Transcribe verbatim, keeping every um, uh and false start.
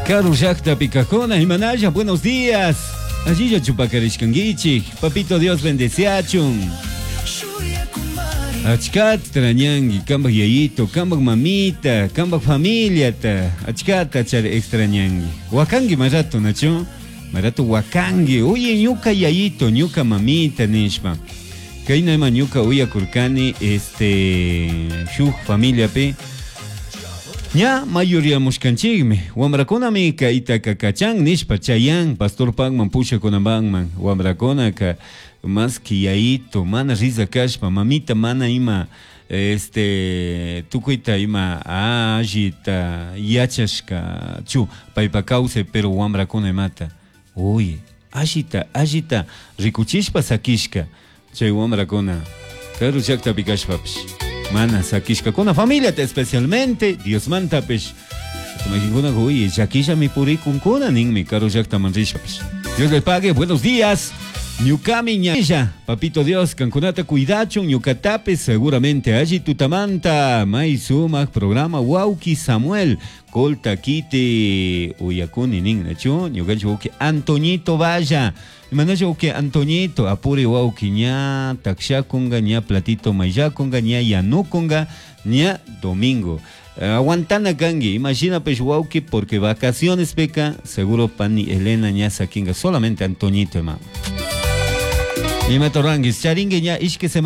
Karu llaqtapi kaqkuna imanalla, buenos días. Allilla chupakarishkankichik. Papito Dios bendeciachun. Achkata extrañanki, kambaj yayito, kambaj mamita, kambaj familiata. Achkata chari extrañanki. Wakanki marato, nachu? Marato wakanki. Oye, ñuka yayito, ñuka mamita nishpa. Kayna ima ñuka uyakurkani, este, shuk familiapi. Ña mayoría-mushkanchikmi wamrakunami kaytaka kachan nishpa chayan pastorpakman pushakunamanman wamrakunaka más que yayito mana risa kashpa mamita mana ima este tukuyta ima allita yachashka chu paypa kawsay pero wamrakuna imata uy allita allita rikuchishpa sakishka chay wamrakuna karu llaktapi kashpapish mana sakishkakuna familiata especialmente Diosmantapish Imaginkuna uy llakillami purikunkuna ninmi karu llaktaman rishpapish. Dios les pague, buenos días. Ñukami ñalla, papito Dios, kankunata cuidachun, ñukatapis seguramente alli tutamanta, may sumak programa wawki Samuel, Colta kiti uyakuni nin, nachu, ñukanchik wawki Antoñito Valla, imanachu wawki Antoñito, apuri wawki ña takshakunga, ña platito mayllakunga, ña yanukunga, ña domingo. Aguantana kanki, imagina pues wawki, porque vacaciones peca, seguro pani Elena ña sakinga, solamente Antoñito ima. Ima torranguis, charingue ña ishke semana.